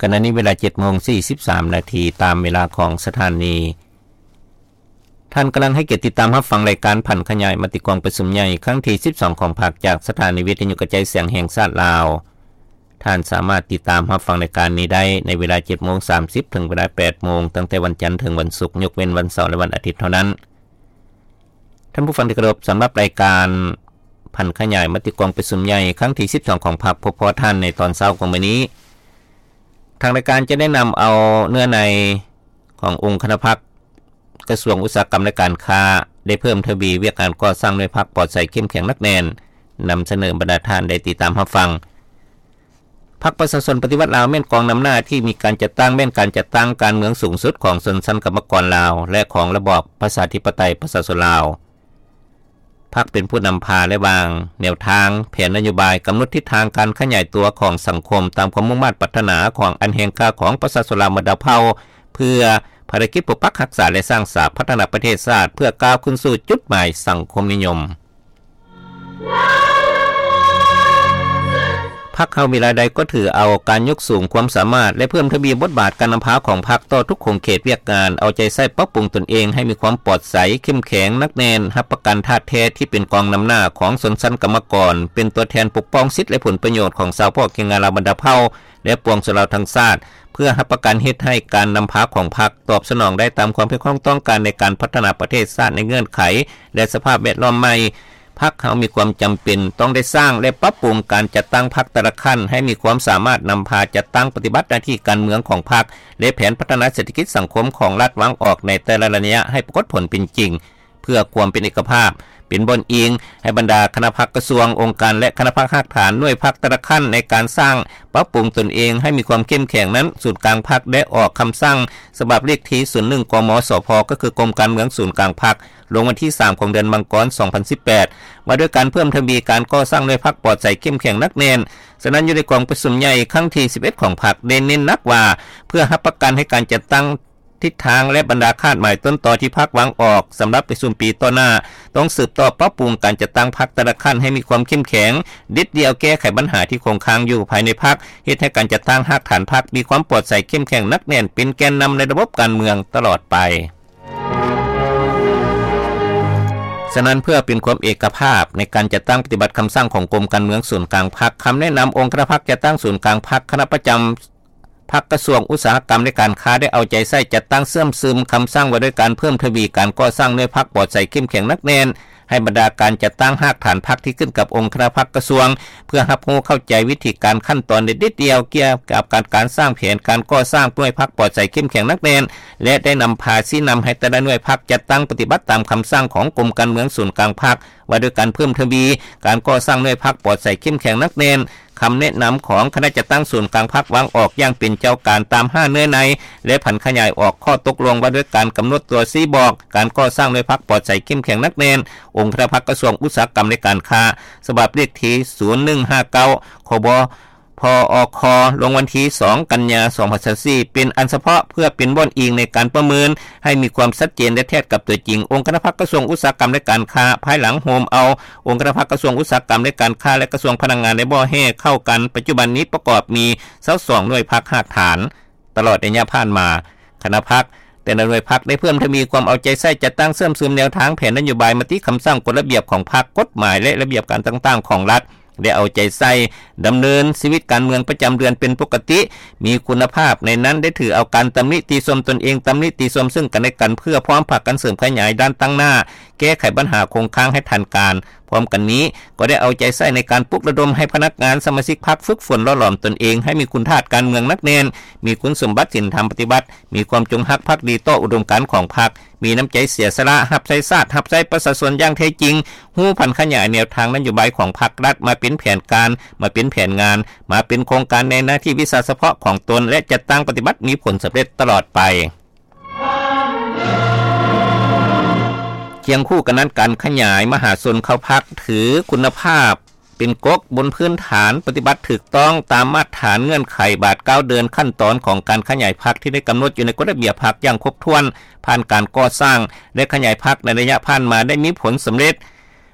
ຂະນະນີ້ເວລາເຈັດໂມງສີ່ສິບສາມນາທີ ຕາມເວລາຂອງສະຖານີ. ທ່ານກຳລັງໃຫ້ກຽດຕິດຕາມຮັບຟັງລາຍການຜັນຂະຫຍາຍມະຕິກອງປະຊຸມໃຫຍ່ຄັ້ງທີສິບສອງຂອງພັກ ຈາກສະຖານີວິທະຍຸກະຈາຍສຽງແຫ່ງຊາດລາວ. ທ່ານສາມາດຕິດຕາມຮັບຟັງລາຍການນີ້ໄດ້ໃນເວລາເຈັດໂມງສາມສິບ ເຖິງເວລາແປດໂມງ ຕັ້ງແຕ່ວັນຈັນເຖິງວັນສຸກ, ຍົກເວັ້ນວັນເສົາ ແລະ ວັນອາທິດເທົ່ານັ້ນ. ທ່ານຜູ້ຟັງທີ່ເຄົາລົບ, ສຳລັບລາຍການຜັນຂະຫຍາຍມະຕິກອງປະຊຸມໃຫຍ່ຄັ້ງທີສິບສອງຂອງພັກ ພົບພໍ້ທ່ານໃນຕອນເຊົ້າຂອງມື້ນີ້. ທາງລາຍການຈະໄດ້ນຳເອົາເນື້ອໃນຂອງອົງຄະນະພັກກະຊວງອຸດສາຫະກຳ ແລະ ການຄ້າ ໄດ້ເພີ່ມທະວີວຽກງານກໍ່ສ້າງໜ່ວຍພັກປອດໃສ ເຂັ້ມແຂງ ໜັກແໜ້ນ, ນຳສະເໜີບັນດາທ່ານໄດ້ຕິດຕາມຮັບຟັງ. ພັກປະຊາຊົນປະຕິວັດລາວ ແມ່ນກອງນຳໜ້າທີ່ມີການຈັດຕັ້ງ, ແມ່ນການຈັດຕັ້ງການເມືອງສູງສຸດຂອງຊົນຊັ້ນກຳມະກອນລາວ ແລະ ຂອງລະບອບປະຊາທິປະໄຕປະຊາຊົນລາວ. ພັກເປັນຜູ້ນຳພາ ແລະ ວາງແນວທາງ, ແຜນນະໂຍບາຍ, ກຳນົດທິດທາງການຂະຫຍາຍຕົວຂອງສັງຄົມຕາມຄວາມມຸ່ງມາດປາດຖະໜາຂອງອັນແຮງຄ່າຂອງປະຊາຊົນລາວບັນດາເຜົ່າ ເພື່ອພາລະກິດປົກປັກຮັກສາ ແລະ ສ້າງສາພັດທະນາປະເທດຊາດ ເພື່ອກ້າວຂຶ້ນສູ່ຈຸດໝາຍສັງຄົມນິຍົມ. ພັກເຮົາເວລາໃດກໍຖືເອົາການຍົກສູງຄວາມສາມາດ ແລະ ເພີ່ມທະວີບົດບາດການນຳພາຂອງພັກຕໍ່ທຸກຂົງເຂດວຽກງານ, ເອົາໃຈໃສ່ປັບປຸງຕົນເອງໃຫ້ມີຄວາມປອດໃສ, ເຂັ້ມແຂງ, ໜັກແໜ້ນ, ຮັບປະກັນທາດແທ້ທີ່ເປັນກອງນຳໜ້າຂອງຊົນຊັ້ນກຳມະກອນ, ເປັນຕົວແທນປົກປ້ອງສິດ ແລະ ຜົນປະໂຫຍດຂອງຊາວເຜົ່າແຮງງານລາວບັນດາເຜົ່າ ແລະ ປວງຊົນລາວທັງຊາດ, ເພື່ອຮັບປະກັນເຮັດໃຫ້ການນຳພາຂອງພັກຕອບສະໜອງໄດ້ຕາມຄວາມຮຽກຮ້ອງຕ້ອງການໃນການພັດທະນາປະເທດຊາດໃນເງື່ອນໄຂ ແລະ ສະພາບແວດລ້ອມໃໝ່. ພັກເຮົາມີຄວາມຈຳເປັນຕ້ອງໄດ້ສ້າງ ແລະ ປັບປຸງການຈັດຕັ້ງພັກແຕ່ລະຂັ້ນໃຫ້ມີຄວາມສາມາດນຳພາຈັດຕັ້ງປະຕິບັດໜ້າທີ່ການເມືອງຂອງພັກ ແລະ ແຜນພັດທະນາເສດຖະກິດສັງຄົມຂອງລັດວາງອອກໃນແຕ່ລະໄລຍະໃຫ້ປາກົດຜົນເປັນຈິງ. ເພື່ອຄວາມເປັນເອກະພາບ, ເປັນບ່ອນອີງໃຫ້ບັນດາຄະນະພັກກະຊວງ, ອົງການ ແລະ ຄະນະພັກຮາກຖານໜ່ວຍພັກແຕ່ລະຂັ້ນໃນການສ້າງປັບປຸງຕົນເອງໃຫ້ມີຄວາມເຂັ້ມແຂງນັ້ນ, ສູນກາງພັກໄດ້ອອກຄຳສັ່ງສະບັບເລກທີສູນໜຶ່ງ ກມສພ ກໍຄືກົມການເມືອງສູນກາງພັກ ລົງວັນທີສາມຂອງເດືອນມັງກອນ ສອງພັນສິບແປດ ວ່າດ້ວຍການເພີ່ມທະວີການກໍ່ສ້າງໜ່ວຍພັກປອດໃສ ເຂັ້ມແຂງ ໜັກແໜ້ນ. ສະນັ້ນ, ຢູ່ໃນກອງປະຊຸມໃຫຍ່ຄັ້ງທີສິບເອັດຂອງພັກ ໄດ້ເນັ້ນໜັກວ່າ ເພື່ອຮັບປະກັນໃຫ້ການຈັດຕັ້ງ ທິດທາງ ແລະ ບັນດາຄາດໝາຍຕົ້ນຕໍທີ່ພັກວາງອອກສຳລັບປະຊຸມປີຕໍ່ໜ້າ ຕ້ອງສືບຕໍ່ປັບປຸງການຈັດຕັ້ງພັກແຕ່ລະຂັ້ນໃຫ້ມີຄວາມເຂັ້ມແຂງ, ເດັດດ່ຽວແກ້ໄຂບັນຫາທີ່ຄົງຄ້າງຢູ່ພາຍໃນພັກ, ເຮັດໃຫ້ການຈັດຕັ້ງຮາກຖານພັກມີຄວາມປອດໃສ, ເຂັ້ມແຂງ, ໜັກແໜ້ນ, ເປັນແກນນຳໃນລະບົບການເມືອງຕະຫຼອດໄປ. ສະນັ້ນ, ເພື່ອເປັນຄວາມເອກະພາບໃນການຈັດຕັ້ງປະຕິບັດຄຳສັ່ງຂອງກົມການເມືອງສູນກາງພັກ, ຄຳແນະນຳອົງຄະນະພັກຈັດຕັ້ງສູນກາງພັກ, ຄະນະປະຈຳ ພັກກະຊວງອຸດສາຫະກຳ ແລະ ການຄ້າ ໄດ້ເອົາໃຈໃສ່ຈັດຕັ້ງເຊື່ອມຊຶມຄຳສັ່ງວ່າດ້ວຍການເພີ່ມທະວີການກໍ່ສ້າງໜ່ວຍພັກປອດໃສ ເຂັ້ມແຂງ ໜັກແໜ້ນ ໃຫ້ບັນດາການຈັດຕັ້ງຮາກຖານພັກທີ່ຂຶ້ນກັບອົງຄະນະພັກກະຊວງ ເພື່ອຮັບຮູ້ເຂົ້າໃຈວິທີການ, ຂັ້ນຕອນ ແລະ ດີເທວກ່ຽວກັບການ, ການສ້າງແຜນການກໍ່ສ້າງໜ່ວຍພັກປອດໃສ ເຂັ້ມແຂງ ໜັກແໜ້ນ ແລະ ໄດ້ນຳພາຊີ້ນຳໃຫ້ແຕ່ລະໜ່ວຍພັກຈັດຕັ້ງປະຕິບັດຕາມຄຳສັ່ງຂອງກົມການເມືອງສູນກາງພັກ ວ່າດ້ວຍການເພີ່ມທະວີການກໍ່ສ້າງໜ່ວຍພັກປອດໃສ ເຂັ້ມແຂງ ໜັກແໜ້ນ. ຄຳແນະນຳຂອງຄະນະຈັດຕັ້ງສູນກາງພັກວາງອອກຢ່າງເປັນເຈົ້າການຕາມຫ້າເນື້ອໃນ ແລະ ຜັນຂະຫຍາຍອອກຂໍ້ຕົກລົງວ່າດ້ວຍການກຳນົດຕົວຊີ້ບອກການກໍ່ສ້າງໜ່ວຍພັກປອດໃສ ເຂັ້ມແຂງ ໜັກແໜ້ນ ອົງຄະນະພັກກະຊວງອຸດສາຫະກຳ ແລະ ການຄ້າ ສະບັບເລກທີສູນໜຶ່ງຫ້າເກົ້າ ຂບ ພອຄ ລົງວັນທີສອງ ກັນຍາ ສອງພັນຊາວສີ່ ເປັນອັນສະເພາະ ເພື່ອເປັນບ່ອນອີງໃນການປະເມີນໃຫ້ມີຄວາມຊັດເຈນ ແລະ ແທດກັບຕົວຈິງ. ອົງຄະນະພັກກະຊວງອຸດສາຫະກຳ ແລະ ການຄ້າ ພາຍຫຼັງໂຮມເອົາ ອົງຄະນະພັກກະຊວງອຸດສາຫະກຳ ແລະ ການຄ້າ ແລະ ກະຊວງພະລັງງານ ແລະ ບໍ່ແຮ່ເຂົ້າກັນ. ປັດຈຸບັນນີ້ປະກອບມີຊາວສອງໜ່ວຍພັກຮາກຖານ. ຕະຫຼອດໄລຍະຜ່ານມາ, ຄະນະພັກແຕ່ລະໜ່ວຍພັກໄດ້ເພີ່ມທະວີຄວາມເອົາໃຈໃສ່, ຈັດຕັ້ງເຊື່ອມຊຶມແນວທາງ, ແຜນນະໂຍບາຍ, ມະຕິຄຳສັ່ງ, ກົດລະບຽບຂອງພັກ, ກົດໝາຍ ແລະ ລະບຽບການຕ່າງໆຂອງລັດ ໄດ້ເອົາໃຈໃສ່ດຳເນີນຊີວິດການເມືອງປະຈຳເດືອນເປັນປົກກະຕິ, ມີຄຸນນະພາບ, ໃນນັ້ນໄດ້ຖືເອົາການຕຳນິຕິຊົມຕົນເອງ, ຕຳນິຕິຊົມເຊິ່ງກັນແລະກັນ ເພື່ອພ້ອມພາກັນເສີມຂະຫຍາຍດ້ານຕັ້ງໜ້າ, ແກ້ໄຂບັນຫາຄົງຄ້າງໃຫ້ທັນການ. ພ້ອມກັນນີ້, ກໍໄດ້ເອົາໃຈໃສ່ໃນການປຸກລະດົມໃຫ້ພະນັກງານສະມາຊິກພັກຝຶກຝົນຫຼໍ່ຫຼອມຕົນເອງໃຫ້ມີຄຸນທາດການເມືອງໜັກແໜ້ນ, ມີຄຸນສົມບັດສິນທຳປະຕິບັດ, ມີຄວາມຈົງຮັກພັກດີຕໍ່ອຸດົມການຂອງພັກ, ມີນ້ຳໃຈເສຍສະຫຼະຮັບໃຊ້ຊາດ, ຮັບໃຊ້ປະຊາຊົນຢ່າງແທ້ຈິງ, ຮູ້ຜັນຂະຫຍາຍແນວທາງນະໂຍບາຍຂອງພັກລັດມາເປັນແຜນການ, ມາເປັນແຜນງານ, ມາເປັນໂຄງການໃນໜ້າທີ່ວິຊາສະເພາະຂອງຕົນ ແລະ ຈັດຕັ້ງປະຕິບັດມີຜົນສຳເລັດຕະຫຼອດໄປ. ຄຽງຄູ່ກັນນັ້ນ, ການຂະຫຍາຍມະຫາຊົນເຂົ້າພັກຖືຄຸນນະພາບເປັນກົກບົນພື້ນຖານປະຕິບັດຖືກຕ້ອງຕາມມາດຖານເງື່ອນໄຂບາດກ້າວເດີນຂັ້ນຕອນຂອງການຂະຫຍາຍພັກທີ່ໄດ້ກຳນົດຢູ່ໃນກົດລະບຽບພັກຢ່າງຄົບຖ້ວນ, ຜ່ານການກໍ່ສ້າງ ແລະ ຂະຫຍາຍພັກໃນໄລຍະຜ່ານມາໄດ້ມີຜົນສຳເລັດ.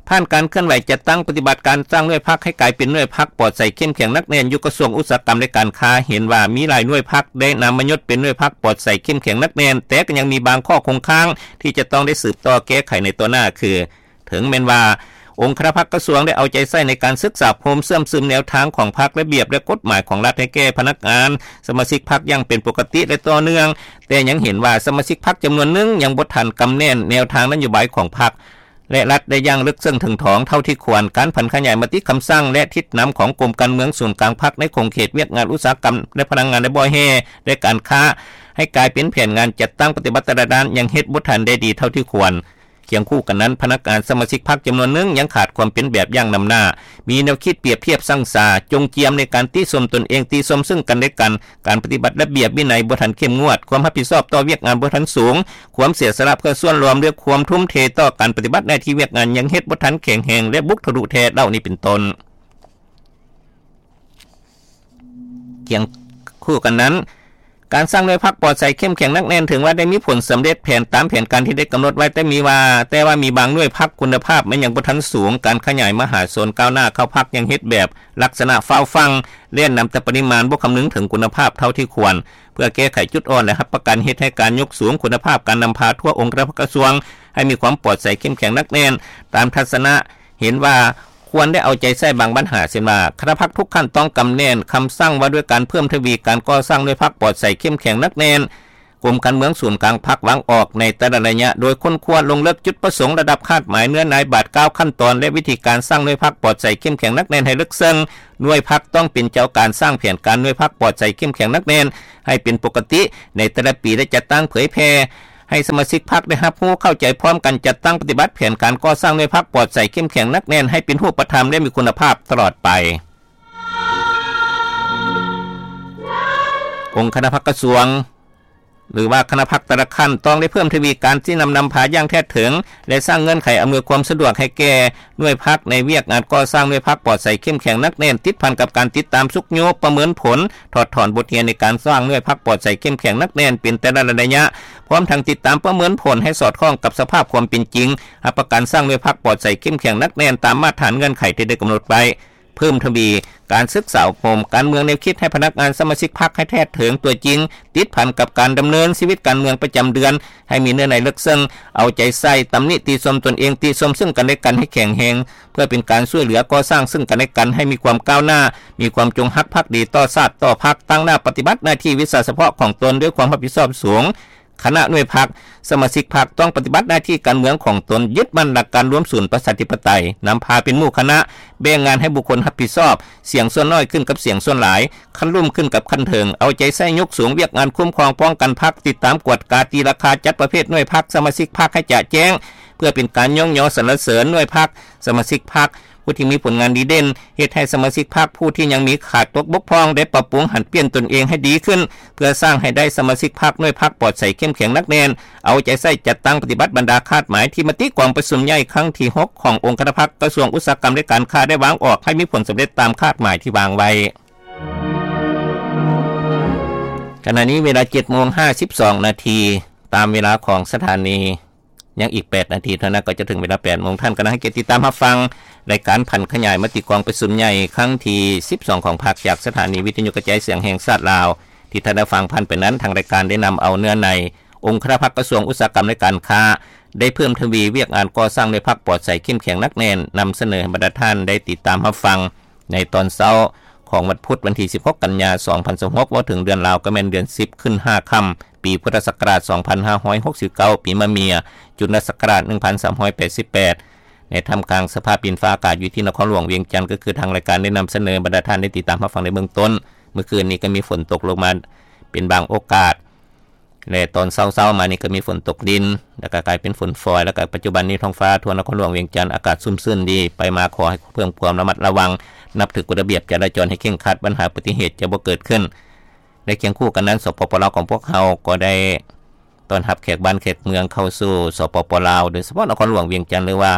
ຜ່ານການເຄື່ອນໄຫວຈັດຕັ້ງປະຕິບັດການສ້າງໜ່ວຍພັກໃຫ້ກາຍເປັນໜ່ວຍພັກປອດໃສເຂັ້ມແຂງໜັກແໜ້ນ ຢູ່ກະຊວງອຸດສາຫະກຳ ແລະ ການຄ້າ ເຫັນວ່າມີຫຼາຍໜ່ວຍພັກໄດ້ນຳມາຍົດເປັນໜ່ວຍພັກປອດໃສເຂັ້ມແຂງໜັກແໜ້ນ, ແຕ່ກໍຍັງມີບາງຂໍ້ຄົງຄ້າງທີ່ຈະຕ້ອງໄດ້ສືບຕໍ່ແກ້ໄຂໃນຕໍ່ໜ້າ ຄື ເຖິງແມ່ນວ່າອົງຄະນະພັກກະຊວງໄດ້ເອົາໃຈໃສ່ໃນການສຶກສາອົບຮົມເຊື່ອມຊຶມແນວທາງຂອງພັກ, ລະບຽບ ແລະ ກົດໝາຍຂອງລັດໃຫ້ແກ່ພະນັກງານສະມາຊິກພັກຢ່າງເປັນປົກກະຕິ ແລະ ຕໍ່ເນື່ອງ, ແຕ່ຍັງເຫັນວ່າສະມາຊິກພັກຈຳນວນໜຶ່ງຍັງບໍ່ທັນກຳແໜ້ນແນວທາງນະໂຍບາຍຂອງພັກ ແລະ ລັດໄດ້ຢ່າງເລິກເຊິ່ງເຖິງຖອງເທົ່າທີ່ຄວນ. ການຜັນຂະຫຍາຍມະຕິຄຳສັ່ງ ແລະ ທິດນຳຂອງກົມການເມືອງສູນກາງພັກໃນຂົງເຂດວຽກງານອຸດສາຫະກຳ ແລະ ພະລັງງານ ແລະ ບໍ່ແຮ່ ແລະ ການຄ້າ ໃຫ້ກາຍເປັນແຜນງານຈັດຕັ້ງປະຕິບັດແຕ່ລະດ້ານ ຍັງເຮັດບໍ່ທັນໄດ້ດີເທົ່າທີ່ຄວນ. ຄຽງຄູ່ກັນນັ້ນ, ພະນັກງານສະມາຊິກພັກຈຳນວນໜຶ່ງຍັງຂາດຄວາມເປັນແບບຢ່າງນຳໜ້າ, ມີແນວຄິດປຽບທຽບສັງສາ, ຈົ່ງຈຽມໃນການຕິຊົມຕົນເອງ, ຕິຊົມເຊິ່ງກັນແລະກັນ, ການປະຕິບັດລະບຽບວິໄນບໍ່ທັນເຂັ້ມງວດ, ຄວາມຮັບຜິດຊອບຕໍ່ວຽກງານບໍ່ທັນສູງ, ຄວາມເສຍສະຫຼະເພື່ອສ່ວນລວມ ແລະ ຄວາມທຸ່ມເທຕໍ່ການປະຕິບັດໜ້າທີ່ວຽກງານຍັງເຮັດບໍ່ທັນແຂງແຮງ ແລະ ບຸກທະລຸແທ້ ເຫຼົ່ານີ້ເປັນຕົ້ນ. ຄຽງຄູ່ກັນນັ້ນ, ການສ້າງໜ່ວຍພັກປອດໃສເຂັ້ມແຂງໜັກແໜ້ນ ເຖິງວ່າໄດ້ມີຜົນສຳເລັດແຜນຕາມແຜນການທີ່ໄດ້ກຳນົດໄວ້, ແຕ່ມີວ່າ, ແຕ່ວ່າມີບາງໜ່ວຍພັກຄຸນນະພາບມັນຍັງບໍ່ທັນສູງ, ການຂະຫຍາຍມະຫາຊົນກ້າວໜ້າເຂົ້າພັກຍັງເຮັດແບບລັກສະນະຟ້າວຟັ່ງ, ແລ່ນນຳແຕ່ປະລິມານ, ບໍ່ຄຳນຶງເຖິງຄຸນນະພາບເທົ່າທີ່ຄວນ. ເພື່ອແກ້ໄຂຈຸດອ່ອນ ແລະ ຮັບປະກັນເຮັດໃຫ້ການຍົກສູງຄຸນນະພາບການນຳພາທົ່ວອົງຄະນະພັກກະຊວງ ໃຫ້ມີຄວາມປອດໃສເຂັ້ມແຂງໜັກແໜ້ນ ຕາມທັດສະນະ ເຫັນວ່າຄວນໄດ້ເອົາໃຈໃສ່ບາງບັນຫາ ເຊັ່ນວ່າ ຄະນະພັກທຸກຂັ້ນຕ້ອງກຳແໜ້ນຄຳສັ່ງວ່າດ້ວຍການເພີ່ມທະວີການກໍ່ສ້າງໜ່ວຍພັກປອດໃສເຂັ້ມແຂງໜັກແໜ້ນ, ກົມການເມືອງສູນກາງພັກວາງອອກໃນແຕ່ລະໄລຍະ ໂດຍຄົ້ນຄວ້າລົງເລິກຈຸດປະສົງ, ລະດັບຄາດໝາຍ, ເນື້ອໃນ, ບາດກ້າວ, ຂັ້ນຕອນ ແລະ ວິທີການສ້າງໜ່ວຍພັກປອດໃສເຂັ້ມແຂງໜັກແໜ້ນໃຫ້ເລິກເຊິ່ງ. ໜ່ວຍພັກຕ້ອງເປັນເຈົ້າການສ້າງແຜນການໜ່ວຍພັກປອດໃສເຂັ້ມແຂງໜັກແໜ້ນໃຫ້ເປັນປົກກະຕິໃນແຕ່ລະປີ ແລະ ຈັດຕັ້ງເຜີຍແຜ່ ໃຫ້ສະມາຊິກພັກໄດ້ຮັບຮູ້ເຂົ້າໃຈພ້ອມກັນ ຈັດຕັ້ງປະຕິບັດແຜນການກໍ່ສ້າງໜ່ວຍພັກປອດໃສເຂັ້ມແຂງໜັກແໜ້ນໃຫ້ເປັນຮູບປະທຳ ແລະ ມີຄຸນນະພາບຕະຫຼອດໄປ. ອົງຄະນະພັກກະຊວງ ຫຼືວ່າຄະນະພັກແຕ່ລະຂັ້ນ ຕ້ອງໄດ້ເພີ່ມທະວີການຊີ້ນຳນຳພາຢ່າງແທດເຖິງ ແລະ ສ້າງເງື່ອນໄຂອຳນວຍຄວາມສະດວກໃຫ້ແກ່ໜ່ວຍພັກໃນວຽກງານກໍ່ສ້າງໜ່ວຍພັກປອດໃສເຂັ້ມແຂງໜັກແໜ້ນ ຕິດພັນກັບການຕິດຕາມຊຸກຍູ້, ປະເມີນຜົນ, ຖອດຖອນບົດຮຽນໃນການສ້າງໜ່ວຍພັກປອດໃສເຂັ້ມແຂງໜັກແໜ້ນເປັນແຕ່ລະໄລຍະ, ພ້ອມທັງຕິດຕາມປະເມີນຜົນໃຫ້ສອດຄ່ອງກັບສະພາບຄວາມເປັນຈິງ, ຮັບປະກັນສ້າງໜ່ວຍພັກປອດໃສເຂັ້ມແຂງໜັກແໜ້ນຕາມມາດຖານເງື່ອນໄຂທີ່ໄດ້ກຳນົດໄວ້, ເພີ່ມທະວີການສຶກສາອົບຮົມການເມືອງແນວຄິດໃຫ້ພະນັກງານສະມາຊິກພັກໃຫ້ແທດເຖິງຕົວຈິງ, ຕິດພັນກັບການດຳເນີນຊີວິດການເມືອງປະຈຳເດືອນ ໃຫ້ມີເນື້ອໃນເລິກເຊິ່ງ, ເອົາໃຈໃສ່, ຕຳໜິຕິຊົມຕົນເອງ, ຕິຊົມເຊິ່ງກັນແລະກັນໃຫ້ແຂງແຮງ, ເພື່ອເປັນການຊ່ວຍເຫຼືອກໍ່ສ້າງເຊິ່ງກັນແລະກັນໃຫ້ມີຄວາມກ້າວໜ້າ, ມີຄວາມຈົງຮັກພັກດີຕໍ່ຊາດຕໍ່ພັກ, ຕັ້ງໜ້າປະຕິບັດໜ້າທີ່ວິຊາສະເພາະຂອງຕົນດ້ວຍຄວາມຮັບຜິດຊອບສູງ. ຄະນະໜ່ວຍພັກ, ສະມາຊິກພັກຕ້ອງປະຕິບັດໜ້າທີ່ການເມືອງຂອງຕົນ, ຍຶດໝັ້ນຫຼັກການລວມສູນປະຊາທິປະໄຕ, ນຳພາເປັນໝູ່ຄະນະ, ແບ່ງງານໃຫ້ບຸກຄົນຮັບຜິດຊອບ, ສຽງສ່ວນໜ້ອຍຂຶ້ນກັບສຽງສ່ວນຫຼາຍ, ຂັ້ນລຸ່ມຂຶ້ນກັບຂັ້ນເທິງ, ເອົາໃຈໃສ່ຍົກສູງວຽກງານຄຸ້ມຄອງປ້ອງກັນພັກ, ຕິດຕາມກວດກາ, ຕີລາຄາຈັດປະເພດໜ່ວຍພັກ, ສະມາຊິກພັກໃຫ້ຈະແຈ້ງ, ເພື່ອເປັນການຍ້ອງຍໍສັນລະເສີນໜ່ວຍພັກ, ສະມາຊິກພັກ ຜູ້ທີ່ມີຜົນງານດີເດັ່ນ, ເຮັດໃຫ້ສະມາຊິກພັກຜູ້ທີ່ຍັງມີຂາດຕົກບົກຜ່ອງໄດ້ປັບປຸງຫັນປ່ຽນຕົນເອງໃຫ້ດີຂຶ້ນ, ເພື່ອສ້າງໃຫ້ໄດ້ສະມາຊິກພັກໜ່ວຍພັກປອດໃສເຂັ້ມແຂງໜັກແໜ້ນ, ເອົາໃຈໃສ່ຈັດຕັ້ງປະຕິບັດບັນດາຄາດໝາຍທີ່ມະຕິກອງປະຊຸມໃຫຍ່ຄັ້ງທີຫົກຂອງອົງຄະນະພັກກະຊວງອຸດສາຫະກຳ ແລະ ການຄ້າໄດ້ວາງອອກໃຫ້ມີຜົນສຳເລັດຕາມຄາດໝາຍທີ່ວາງໄວ້. ຂະນະນີ້ເວລາເຈັດໂມງຫ້າສິບສອງນາທີ, ຕາມເວລາຂອງສະຖານີ ຍັງອີກແປດນາທີເທົ່ານັ້ນກໍຈະເຖິງເວລາແປດໂມງ. ທ່ານກຳລັງໃຫ້ກຽດຕິດຕາມຮັບຟັງລາຍການຜັນຂະຫຍາຍມະຕິກອງປະຊຸມໃຫຍ່ຄັ້ງທີສິບສອງຂອງພັກ ຈາກສະຖານີວິທະຍຸກະຈາຍສຽງແຫ່ງຊາດລາວ. ທີ່ທ່ານໄດ້ຟັງຜ່ານໄປນັ້ນ, ທາງລາຍການໄດ້ນຳເອົາເນື້ອໃນ ອົງຄະນະພັກກະຊວງອຸດສາຫະກຳ ແລະ ການຄ້າ ໄດ້ເພີ່ມທະວີວຽກງານກໍ່ສ້າງໜ່ວຍພັກປອດໃສເຂັ້ມແຂງໜັກແໜ້ນ ນຳສະເໜີໃຫ້ບັນດາທ່ານໄດ້ຕິດຕາມຮັບຟັງ ໃນຕອນເຊົ້າຂອງວັນພຸດ ວັນທີສິບຫົກ ກັນຍາ ສອງພັນຊາວຫົກ ເວົ້າເຖິງເດືອນລາວກໍແມ່ນເດືອນສິບ ຂຶ້ນຫ້າຄ່ຳ ປີພຸດທະສັກກະລາດ ສອງພັນຫ້າຮ້ອຍຫົກສິບເກົ້າ ປີມະເມຍ ຈຸນລະສັກກະລາດ ໜຶ່ງພັນສາມຮ້ອຍແປດສິບແປດ ໃນທ່າມກາງສະພາບດິນຟ້າອາກາດຢູ່ທີ່ນະຄອນຫຼວງວຽງຈັນ, ກໍຄືທາງລາຍການໄດ້ນຳສະເໜີໃຫ້ບັນດາທ່ານໄດ້ຕິດຕາມຮັບຟັງໃນເບື້ອງຕົ້ນ. ມື້ຄືນນີ້ກໍມີຝົນຕົກລົງມາເປັນບາງໂອກາດ ແລະ ຕອນເຊົ້າໆມານີ້ກໍມີຝົນຕົກລິນ ແລ້ວກໍກາຍເປັນຝົນຝອຍ ແລ້ວກໍປັດຈຸບັນນີ້ທ້ອງຟ້າທົ່ວນະຄອນຫຼວງວຽງຈັນອາກາດຊຸ່ມຊື່ນດີ. ໄປມາຂໍໃຫ້ເພີ່ມຄວາມລະມັດລະວັງ, ນັບຖືກົດລະບຽບຈະລາຈອນໃຫ້ເຄັ່ງຄັດ, ບັນຫາອຸບັດຕິເຫດຈະບໍ່ເກີດຂຶ້ນ. ແລະ ຄຽງຄູ່ກັນນັ້ນ ສປປ ລາວຂອງພວກເຮົາກໍໄດ້ຕ້ອນຮັບແຂກບ້ານແຂກເມືອງເຂົ້າສູ່ ສປປ ລາວ, ໂດຍສະເພາະນະຄອນຫຼວງວຽງຈັນ ຫຼືວ່າ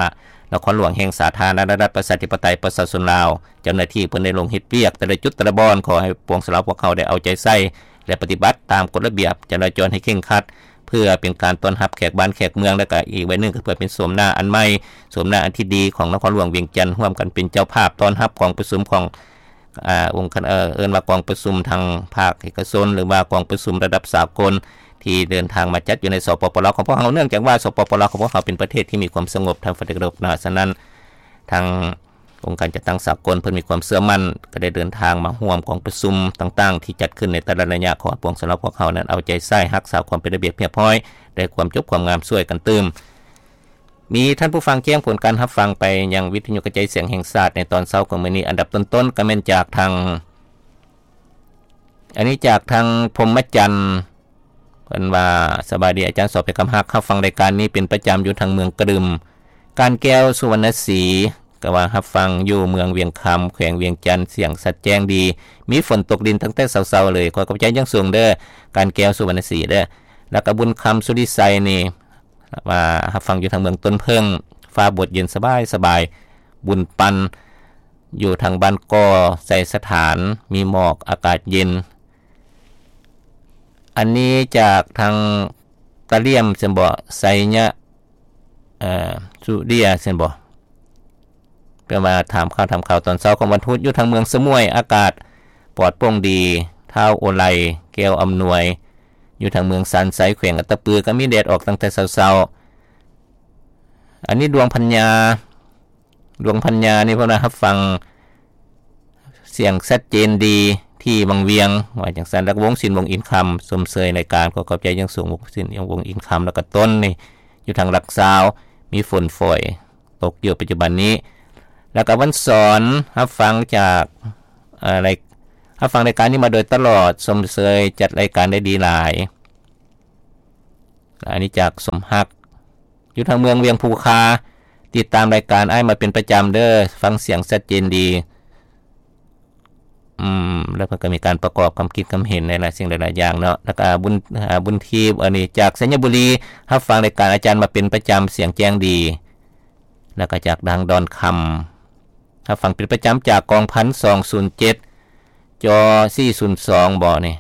ນະຄອນຫຼວງແຫ່ງສາທາລະນະລັດ ປະຊາທິປະໄຕ ປະຊາຊົນລາວ. ເຈົ້າໜ້າທີ່ເພິ່ນໄດ້ລົງເຮັດວຽກແຕ່ລະຈຸດແຕ່ລະບ່ອນ, ຂໍໃຫ້ປວງຊາວລາວພວກເຮົາໄດ້ເອົາໃຈໃສ່ ແລະ ປະຕິບັດຕາມກົດລະບຽບຈະລາຈອນໃຫ້ເຄັ່ງຄັດ, ເພື່ອເປັນການຕ້ອນຮັບແຂກບ້ານແຂກເມືອງ ແລະກະອີກໃບໜຶ່ງກໍເພື່ອເປັນໂສມໜ້າອັນໃໝ່ ໂສມໜ້າອັນທີ່ດີຂອງນະຄອນຫຼວງວຽງຈັນ ຮ່ວມກັນເປັນເຈົ້າພາບຕ້ອນຮັບກອງປະຊຸມຂອງ ອາ ອົງຄະ ເອີ ເອີ້ນວ່າກອງປະຊຸມທາງພາກເອກະຊົນ ຫຼືວ່າກອງປະຊຸມລະດັບສາກົນ ທີ່ເດີນທາງມາຈັດຢູ່ໃນ ສປປລ ຂອງພວກເຮົາ ເນື່ອງຈາກວ່າ ສປປລ ຂອງພວກເຮົາເປັນປະເທດທີ່ມີຄວາມສະຫງົບທາງຝັ່ງຕາເວັນອອກນອກ. ສະນັ້ນ ທາງອົງການຈັດຕັ້ງສາກົນເພິ່ນມີຄວາມເຊື່ອໝັ້ນ ກໍໄດ້ເດີນທາງມາຮ່ວມກອງປະຊຸມຕ່າງໆ ທີ່ຈັດຂຶ້ນໃນແຕ່ລະໄລຍະ ຂໍໃຫ້ປວງຊົນລາວພວກເຮົານັ້ນເອົາໃຈໃສ່ຮັກສາຄວາມເປັນລະບຽບຮຽບຮ້ອຍ ແລະຄວາມຈົບຄວາມງາມຊ່ວຍກັນຕື່ມ. ມີທ່ານຜູ້ຟັງແຈ້ງຜົນການຮັບຟັງໄປຍັງວິທະຍຸກະຈາຍສຽງແຫ່ງຊາດໃນຕອນເຊົ້າຂອງມື້ນີ້ ອັນດັບຕົ້ນໆ ກໍແມ່ນຈາກທາງ ອັນນີ້ຈາກທາງພົມມະຈັນ ເພິ່ນວ່າ ສະບາຍດີອາຈານ ສອບເພັກຄຳຮັກ ຮັບຟັງລາຍການນີ້ເປັນປະຈຳຢູ່ທາງເມືອງກະດຶມ ການແກ້ວ ສຸວັນນະສີ ກໍວ່າຮັບຟັງຢູ່ເມືອງວຽງຄຳ ແຂວງວຽງຈັນ ສຽງຊັດແຈ້ງດີ ມີຝົນຕົກລິນຕັ້ງແຕ່ເຊົ້າໆ ເລີຍ ຂໍຂອບໃຈຢ່າງສູງເດີ້ ການແກ້ວ ສຸວັນນະສີເດີ້ ແລ້ວກໍບຸນຄຳ ສຸລິໄຊນີ້ ວ່າຮັບຟັງຢູ່ທາງເມືອງຕົ້ນເຜິ້ງ ຟ້າບົດເຢັນສະບາຍໆ ບຸນປັນ ຢູ່ທາງບ້ານກໍໄຊສະຖານ ມີໝອກ ອາກາດເຢັນ. ອັນນີ້ຈາກທາງຕາຫຼຽມຊັ້ນບໍ ໄຊຍະ ເອີ ສຸເດຍຊັ້ນບໍ ແປວ່າຖາມຂ່າວ ຖາມຂ່າວຕອນເຊົ້າຂອງວັນພຸດ ຢູ່ທາງເມືອງສະໝວຍ ອາກາດປອດໂປ່ງດີ ທ້າວໂອໄລ ແກ້ວອຳນວຍ ຢູ່ທາງເມືອງຊານໄຊ ແຂວງອັດຕະປື ກໍມີແດດອອກຕັ້ງແຕ່ເຊົ້າໆ. ອັນນີ້ດວງພັນຍາ ດວງພັນຍານີ້ເພິ່ນວ່າຮັບຟັງສຽງຊັດເຈນດີທີ່ວັງວຽງ ວ່າຈັ່ງຊັ້ນ. ແລ້ວວງສິນ ວົງອິນຄຳ ຊົມເຊີຍລາຍການ ຂໍຂອບໃຈຢ່າງສູງ ວົງສິນ ວົງອິນຄຳ ແລ້ວກໍຕົ້ນນີ້ ຢູ່ທາງຫຼັກຊາວ ມີຝົນຝອຍຕົກຢູ່ປັດຈຸບັນນີ້. ແລ້ວກໍວັນສອນ ຮັບຟັງຈາກ ເອີ ລາຍ ຮັບຟັງລາຍການນີ້ມາໂດຍຕະຫຼອດ ຊົມເຊີຍຈັດລາຍການໄດ້ດີຫຼາຍ. ອັນນີ້ຈາກສົມຮັກ ຢູ່ທາງເມືອງວຽງພູຄາ ຕິດຕາມລາຍການອ້າຍມາເປັນປະຈຳເດີ້ ຟັງສຽງຊັດເຈນດີ. ອືມ ແລ້ວເພິ່ນກໍມີການປະກອບຄຳຄິດຄຳເຫັນໃນຫຼາຍສິ່ງຫຼາຍໆຢ່າງເນາະ. ແລ້ວກໍບຸນ ອາ ບຸນທີບ ອັນນີ້ຈາກໄຊຍະບູລີ ຮັບຟັງລາຍການອາຈານມາເປັນປະຈຳ ສຽງແຈ້ງດີ. ແລ້ວກໍຈາກທາງດອນຄຳ ຮັບຟັງເປັນປະຈຳຈາກກອງພັນສອງສູນເຈັດ ຈໍສີ່ສູນສອງບໍນີ້.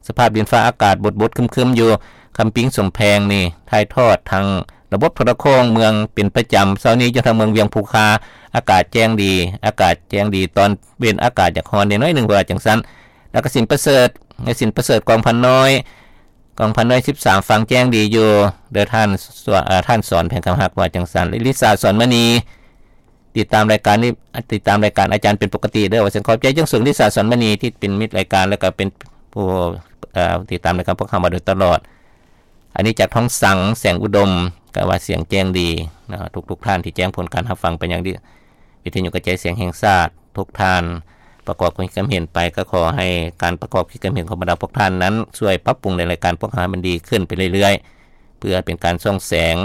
ສະພາບດິນຟ້າອາກາດບົດໆຄຶ້ມໆຢູ່ ຄຳປິງ ສົມແພງນີ້ ຖ່າຍທອດທາງລະບົບໂທລະໂຄ່ງເມືອງເປັນປະຈຳ. ເຊົ້ານີ້ຢູ່ທາງເມືອງວຽງພູຄາ ອາກາດແຈ້ງດີ ອາກາດແຈ້ງດີ ຕອນເວັນອາກາດຢາກຮ້ອນແດ່ໜ້ອຍໜຶ່ງ ວ່າຈັ່ງຊັ້ນ. ແລ້ວກໍສິນປະເສີດ ໃນສິນປະເສີດກອງພັນນ້ອຍ ກອງພັນນ້ອຍສິບສາມ ຟັງແຈ້ງດີຢູ່ເດີ້ທ່ານ ເອີ ທ່ານສອນແພງຄຳຮັກ ວ່າຈັ່ງຊັ້ນ. ລິສາ ສອນມະນີ ຕິດຕາມລາຍການນີ້ ຕິດຕາມລາຍການອາຈານເປັນປົກກະຕິເດີ້ ວ່າຊັ້ນ. ຂອບໃຈຢ່າງສູງ ລິສາ ສອນມະນີ ທີ່ເປັນມິດລາຍການ ແລ້ວກໍເປັນຜູ້ ເອີ ຕິດຕາມລາຍການພວກເຮົາມາໂດຍຕະຫຼອດ. ອັນນີ້ຈາກທອງສັງ ແສງອຸດົມ ກໍວ່າສຽງແຈ້ງດີເນາະ. ທຸກໆທ່ານທີ່ແຈ້ງຜົນການຮັບຟັງໄປຍັງ ວິທະຍຸກະຈາຍສຽງແຫ່ງຊາດ ທຸກທ່ານປະກອບຄວາມຄິດຄວາມເຫັນໄປ ກໍຂໍໃຫ້ການປະກອບຄວາມຄິດຄວາມເຫັນຂອງບັນດາພວກທ່ານນັ້ນ ຊ່ວຍປັບປຸງໃນລາຍການພວກເຮົາໃຫ້ມັນດີຂຶ້ນໄປເລື້ອຍໆ ເພື່ອເປັນການສົ່ງແສງ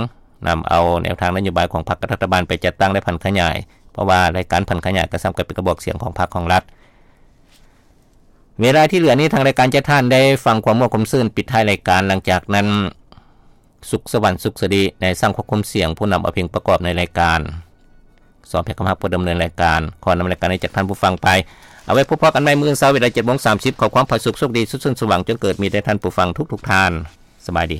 ນຳເອົາແນວທາງນະໂຍບາຍຂອງພັກ ກັບລັດຖະບານໄປຈັດຕັ້ງ ແລະ ຜັນຂະຫຍາຍ ເພາະວ່າລາຍການຜັນຂະຫຍາຍກໍສ່ຳກັບເປັນກະບອກສຽງຂອງພັກຂອງລັດ. ເວລາທີ່ເຫຼືອນີ້ ທາງລາຍການຈະໃຫ້ທ່ານໄດ້ຟັງຄວາມມ່ວນຄວາມຊື່ນປິດທ້າຍລາຍການ. ຫຼັງຈາກນັ້ນ ສຸກສະຫວັນ ສຸກສະລິ ໃນຊ່າງຄວບຄຸມສຽງ ຜູ້ນຳເອົາເພງປະກອບໃນລາຍການ. ສອນແພງຄຳຮັກ ຜູ້ດຳເນີນລາຍການ. ຂໍນຳລາຍການໃຫ້ຈາກທ່ານຜູ້ຟັງໄປ. ເອົາໄວ້ພົບພໍ້ກັນໃໝ່ມື້ເຊົ້າ ເວລາເຈັດໂມງສາມສິບ. ຂໍຄວາມຜາສຸກໂຊກດີ ສຸກຊື່ນສວ່າງ ຈົ່ງເກີດມີແດ່ທ່ານຜູ້ຟັງທຸກໆທ່ານ. ສະບາຍດີ.